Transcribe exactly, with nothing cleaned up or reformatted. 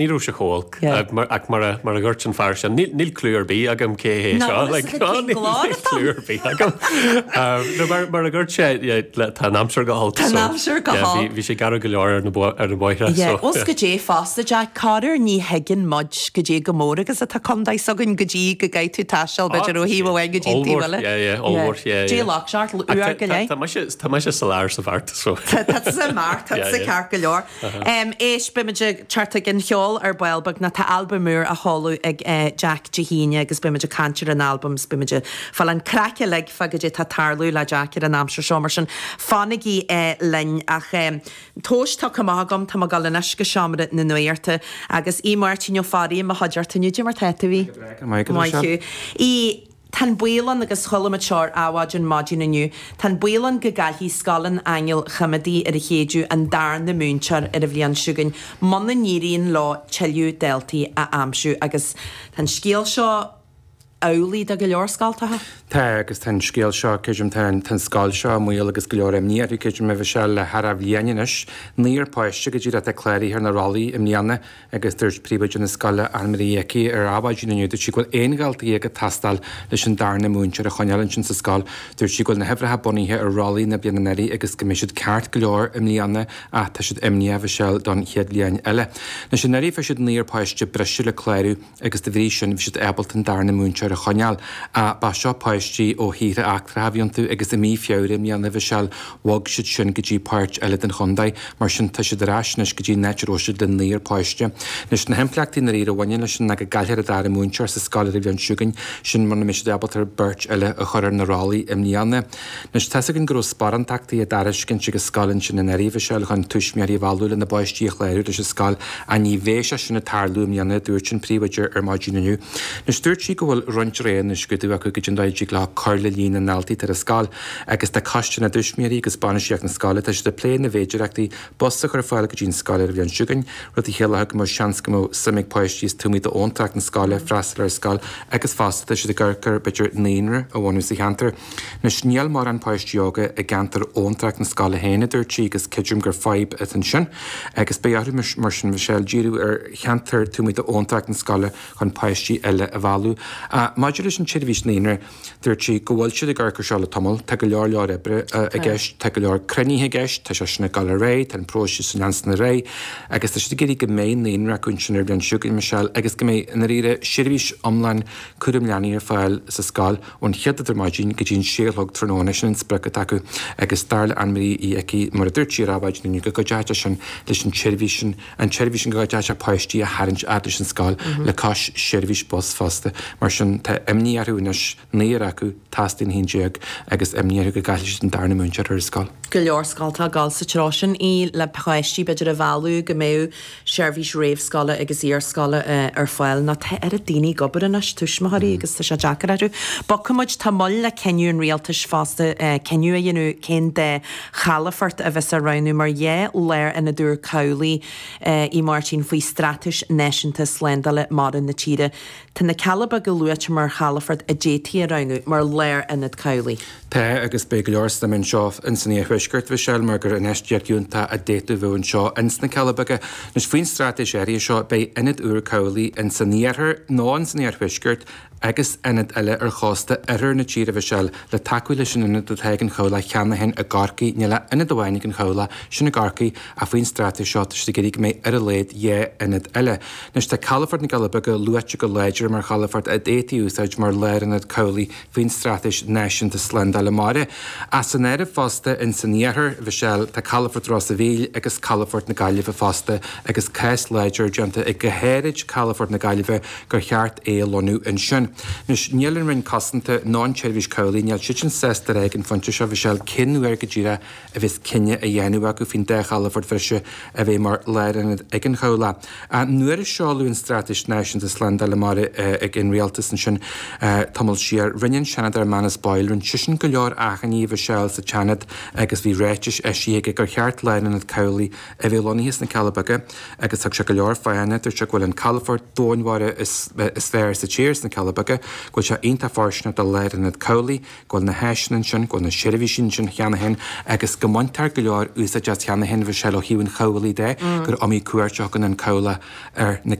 Ní raibh sé chomh holc ach mar a mar a dhúirt an fear sin, níl clue ar bith agam cé hé seo níl clue ar bith agam. No mar mar a dhúirt sé tá an aimsir go holc. Tá an aimsir go holc. Bhí sé garbh go leor ar na ar na bóithre. Os go dté fosta Jack, corruair ní thuigeann muid go dté go mór agus atá contae s'againn go dtí go gcaithfidh tú taisteal b'fhéidir ó thaobh amháin go dtí an taobh eile. Ollmhór, yeah, Dé loch seacht uair go leith. Tá mise tá mise sa lár sa bheart so. Tá sa mbeart, tá sa ceart go leor. Éist, beimid ag teacht ag an cheol ar ball beag ná tá albam úr á sheoladh ag Jack Dé hAoine agus beimid ag caint ar an albam is beimid ag fáil an craic uilig fá goidé tá ag tarlú le Jack ar an aimsir seo mar sin fanaigí linn ach tomhais tugtha amach agam tá mé ag dul anois go seomra na nuachta agus Aodh Máirtín Ó Fearraigh i mo chuideachta inniu Cad é mar tá tú a Aodh? Maith thú. Aodh, Tá an baol ann agus chuala muid seo ar Adhmhaidin maidin inniu, tá an baol ann go gcaillfidh Scoil an Aingil Choimeádaigh ar an Chéideadh an darna múinteoir ar an bhliain seo chugainn muna n-éiríonn leo tuilleadh daltaí a aimsiú agus tá an scéal seo amhlaidh do go leor scoltacha. Tá agus tá an scéal seo, creidim, tá an scoil seo i mbaol agus go leor imní uirthi, creidim, a Mhichelle, le thar bhliain anois. Naonúr páiste go díreach atá cláraithe ar na rollaí i mbliana agus dúirt príomhoide na scoile, Anne-Marie Uí Icí, ar Adhmhaidin inniu, dúirt sí go bhfuil aon dhalta dhéag ag teastáil leis an darna múinteoir a choinneáil ansin sa scoil. Dúirt sí go bhfuil na huimhreacha bunaithe ar rollaí na bliana anuraidh agus go mbeidh siad ceart go leor i mbliana ach tá siad imníoch, a Mhichelle, don chéad bhliain eile. Anois anuraidh fuair siad naonúr páiste breise le clárú agus de bhrí sin bhí siad ábalta an darna múinteoir a choinneáil. Ach ba seo páistí ó thíortha eachtracha a bhí iontu agus i mí Feabhra i mbliana, a Mhichelle, bhog siad sin go dtí páirt eile den chontae. Mar sin tá siad ar ais anois go dtí an áit a raibh siad le naonúr páiste. Anois na himpleachtaí i ndáiríre a bhaineann leis sin ná go gcaillfear an dara múinteoir sa scoil ar an bhliain seo chugainn, sin muna mbeidh siad ábalta beirt eile a chur ar na rollaí i mbliana. Anois tá's againn go raibh sparántachtaí á dtairiscint ag an scoil ansin anuraidh, a Mhichelle, chun tuismitheoirí a mhealladh lena bpáistí a chlárú leis an scoil ach ní bheidh sé sin ag tarlú i mbliana, a dúirt an príomhoide ar maidin inniu. Anois dúirt sí go bhfuil roinnt roghanna á scrúdú acu goidé an dóigh a dtig leo cur le líon na ndaltaí atá ar an scoil agus tá coiste na dtuismitheoirí agus bainistíocht na scoile, tá siad ag plé na bhféidearthachtaí bus a chur ar fáil go dtí an scoil ar an bhliain seo chugainn, rud a chiallódh go mbeadh seans go mbeadh suim ag páistí is taobh amuigh d'abhantrach na scoile freastal ar an scoil agus fosta tá siad ag amharc ar b'fhéidir naíonra a bhunú sa cheantar. Anois níl mórán páistí óga i gceantar abhantrach na scoile féin, a dúirt sí, agus creidim gur fadhb atá ansin agus beidh orthu mar sin, Michelle, díriú ar cheantar taobh amuigh d'abhantrach na scoile chun páistí eile a mhealladh. Maidir leis an tseirbhís naíonra, dúirt sí go bhfuil siad ag amharc ar seo le tamall, tá go leor leor oibre i gceist, tá go leor cruinnithe i gceist, tá sé sin ag dul ar aghaidh, tá an próiseas ag leanstan ar aghaidh agus tá siad ag iarraidh go mbeidh naíonra acu ansin ar an bhliain seo chugainn, Michelle, agus go mbeidh, i ndáiríre, seirbhís iomlán cúram leanaí ar fáil sa scoil ón chéad rud ar maidin go dtí an sé a chlog tráthnóna, sin an sprioc atá acu agus dar le Anne-Marie Uí Icí, mar a dúirt sí ar Adhmhaidin inniu, go gcuideoidh sé sin leis an tseirbhís sin, an tseirbhís sin go gcuideoidh sé páistí a tharraingt fhad leis an scoil le cois seirbhís bus fosta. Mar sin, tá imní orthu anois, naonúr acu, teastaíonn haon déag, agus imní orthu go gcaillfidh siad an darna múinteoir ar an scoil. Go leor scoltacha ag dul sa treo sin í le páistí b'fhéidir a mhealladh go mbeadh seirbhís réamhscoile agus iarscoile ar fáil. Nó tá oiread daoine ag obair anois, tuismitheoirí, agus tá sé deacair orthu. Bogfaidh muid, tá moill le cinneadh an rialtais fosta cinneadh a dhéanamh cén dá chalafort a bheas á roghnú mar dhá lárionad úr cabhlaigh a Mháirtín faoi Straitéis Náisiúnta Slándála Mara na tíre. Tá na Cealla Beaga luaite mar chalafort a d'fhéadfaí a roghnú mar lárionad cabhlaigh. Tá, agus beidh go leor suim anseo ins an iarthuaisceart, Mhichelle, mar gur infheistíocht fhiúntach a d'fhéadfadh a bheith anseo ins na Cealla Beaga. Anois, faoin straitéis áirithe seo, beidh ionad úr cabhlaigh ins an iarthar nó ins an iarthuaisceart agus ionad eile ar chósta oirthear na tíre, Mhichelle, le tacú leis an ionad atá ag an chabhlach cheana féin i gCorcaigh. Níl ach ionad amháin ag an chabhlach, sin i gCorcaigh, ach faoin straitéis seo tá siad ag iarraidh go mbeidh ar a laghad dhá ionad eile. Anois tá calafort na gCealla Beaga luaite go láidir mar chalafort a d'fhéadfaí a úsáid mar lárionad cabhlaigh faoin Straitéis Náisiúnta Slándála Mara. Ach san áireamh fosta ins an iarthar, Mhichelle, tá calafort Ros a' Mhíl agus calafort na Gaillimhe fosta agus cás láidir déanta ag go háirid calafort na Gaillimhe gur cheart é a lonnú ansin. Anois, níl an Roinn Cosanta ná an tSeirbhís Cabhlaigh, níl siadsan sásta a rá ag an phointe seo, Mhichelle, cén uair go díreach a bheas cinneadh á dhéanamh acu faoin dá chalafort bhreise a bheidh mar lárionad ag an chabhlach. Nuair a seoladh an Straitéis Náisiúnta Slándála Mara ag an Rialtas ansin tamall siar, rinne an Seanadóir Manus Boyle, rinne seisean go leor achainí, a Mhichelle, sa tSeanad agus bhí ráitis eisithe aige gur cheart lárionad cabhlaigh a bheith lonnaithe sna Cealla Beaga agus thug sé go leor fáthanna, dúirt sé go bhfuil an calafort domhainmhara is fearr sa tír sna Cealla Beaga. Beaga, go bhfuil sé iontach fóirsteanach do Lárionad Cabhlaigh, go bhfuil na háiseanna ansin, go bhfuil na seirbhísí ansin cheana féin agus go mbaintear go leor úsáid as cheana féin, Mhichelle, ó thaobh an chabhlaigh de, gur iomaí cuairt a thugann an cabhlach ar na